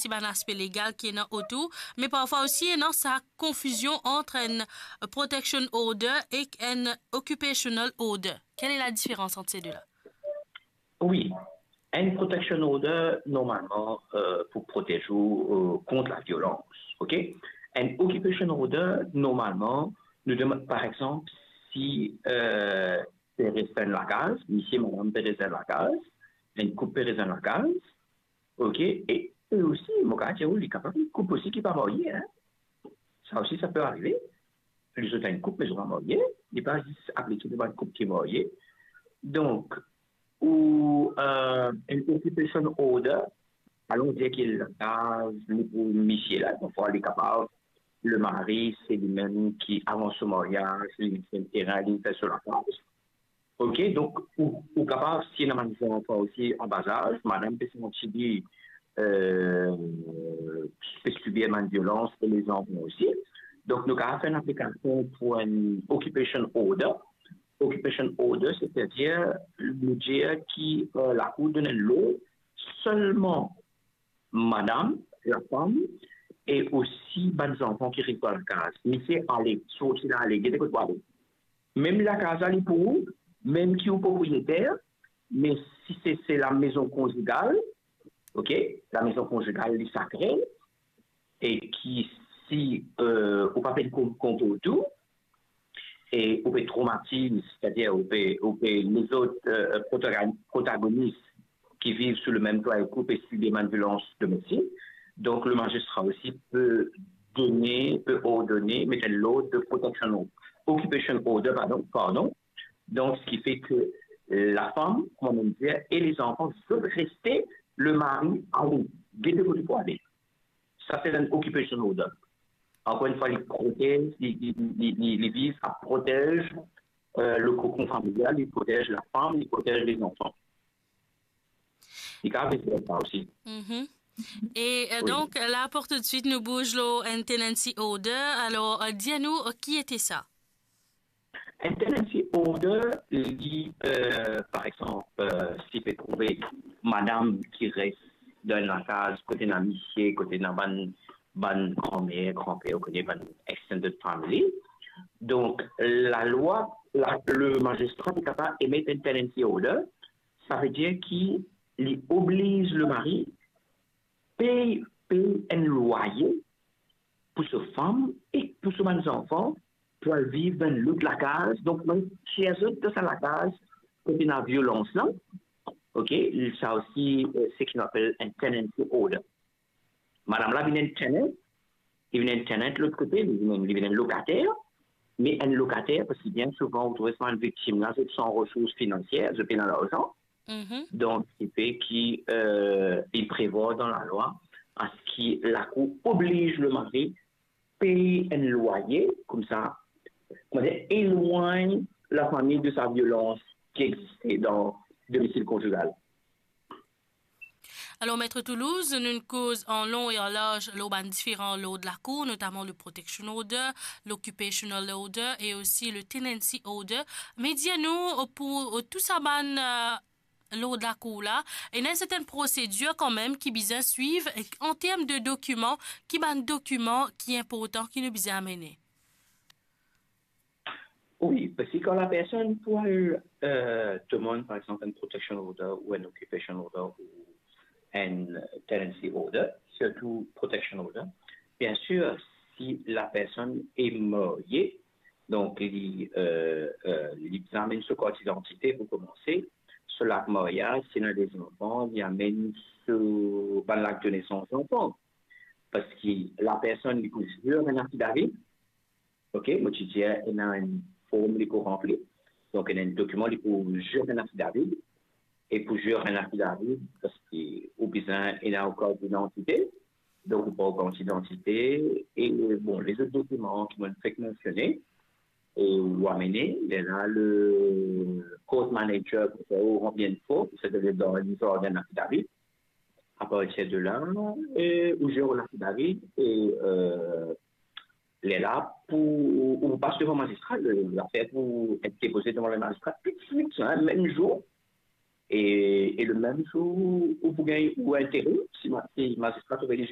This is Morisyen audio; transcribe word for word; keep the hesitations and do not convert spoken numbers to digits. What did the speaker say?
si bann aspe legal ki ena otour, me parfwa osi ena sa konfizion ant enn protection order ek enn occupational order. Quelle est la différence entre ces deux-là? Wi, enn protection order normalman euh, pou protez ou euh, kont laviolans, ok? Enn occupation order normalman nou demann, par exemple, si euh, pe res dan lakaz, misie, madam pe res dan lakaz, enn koup pe res dan lakaz, ok? E, e osi, mo kapav dir ou, li kapav enn koup osi ki pa marye, hein? Sa osi, sa pe arive. Li zot enn koup, me zot pa marye. Li pa zis aplike devan enn koup ki marye. Donk, ou euh, enn occupation order, alon dir ki lakaz li pou misie la, parfwa li kapav, le mari, se li menm ki avan so maryaz, li fer terin, li fer so lakaz. Ok, donk ou, ou kapav, si ena bann zanfan osi an bazaz, madam pe santi li euh, pe sibir bann violans e lezanfan osi. Donk nou kapav fer enn aplikasion pou enn occupation order. Occupation order, setadir nou dir ki euh, lakour donn enn lord selman madam, lafam, e osi bann zanfan ki res dan lakaz. Misie ale, sorti la ale, gete kot pou ale. Mem lakaz la li pou ou, mem ki ou propriyeter, me si se, se la maison conjugale, ok, la maison conjugale li sakre, e ki si euh, ou pa pe kont, kont ou tou, e ou pe traumatiz, setadir ou pe, ou pe lezot euh, protagon- protagonis ki viv sou le mem twa ek ou pe sibir bann violans domestik. Donk le mazistra osi pe done, pe ordone, met enn lord de protection, occupation order, pardon, pardon. Donk, ce qui fait que euh, lafam, kouma mo dir, e lezanfan zot reste, le mari ale, gete kot pou ale. Sa se enn occupation order. Ankor enn fwa, li protez, li, li, li, li, li viz a protez euh, le kokon familial, li protez lafam, li protez lezanfan. Li kapav vinn sa osi. Mhm. E euh, donk, la pou toutswit nou bouz lor enn tenancy order. Alor, euh, dir nou euh, ki ete sa? Enn tenancy order, li, euh, par exemple, euh, si pe trouve madam ki res dan enn lakaz kote ena misie, kote ena bann, bann granmer, granper, ou kone, bann extended family. Donk, lalwa, la, le mazistra li kapav emet enn tenancy order, savedir ki li obliz le mari pey, pey enn lwaye pou so fam e pou so bann zanfan pou al viv dan enn lot lakaz. Donk, nou tir zot dan sa lakaz kote ena violans la. Ok, sa osi, euh, se ki nou apel enn tenancy order. Madam la vinn enn tenant, li vinn enn tenant lot kote, li vinn, li vinn enn lokater, me enn lokater, parski bien souvan, ou trouve sa bann viktim la, zot san resours finansier, zot pena larzan. Mhm. Donk, se ki, euh, li prevwar dan lalwa, aski lakour obliz le mari pey enn lwaye, koumsa, kouma dir, elwagn lafami de sa violans ki existe dan domisil konjigal. Alor, Maître Toulouse, nou koz an long e an larz lor bann diferan lord lakour, notaman le protection order, l'occupational order e osi le tenancy order. Me dir nou, pou tou sa bann, euh, lord lakour la, ena enn sertenn prosedir kanmem ki bizin swiv, e an term de dokiman, ki bann dokiman ki inportan ki nou bizin amene? Wi, parski kan lapersonn pou al, euh, demann, par exemple, enn protection order ou enn occupation order ou enn tenancy order, sirtou protection order, bien sir, si lapersonn e marye, donk li, euh, euh, li bizin amenn so kart idantite pou koumanse, so lak maryaz, si ena de zanfan, li amenn so bann lak de nesans zanfan. Parski lapersonn li pou zir enn affidavit, ok, mo ti dir, ena enn form li pou ranpli. Donk, ena enn dokiman li pou zir enn affidavit. E pou zir enn affidavit, parski ou bizin ena ou kart idantite. Donk, ou pran ou kart idantite. E, bon, lezot dokiman ki mo fek mansione, e ou amene, lerla le court manager pou fer ou ranpli enn form, setadir dan lizar enn affidavit. Apartir de la, e, ou zir ou affidavit, e, euh, lerla pou, ou pas devan mazistra, le, lafer pou et depoze devan le mazistra toutswit, hein, mem zour. E, e le mem zour, ou pou gagn ou enterim, si ma-, si mazistra trouve li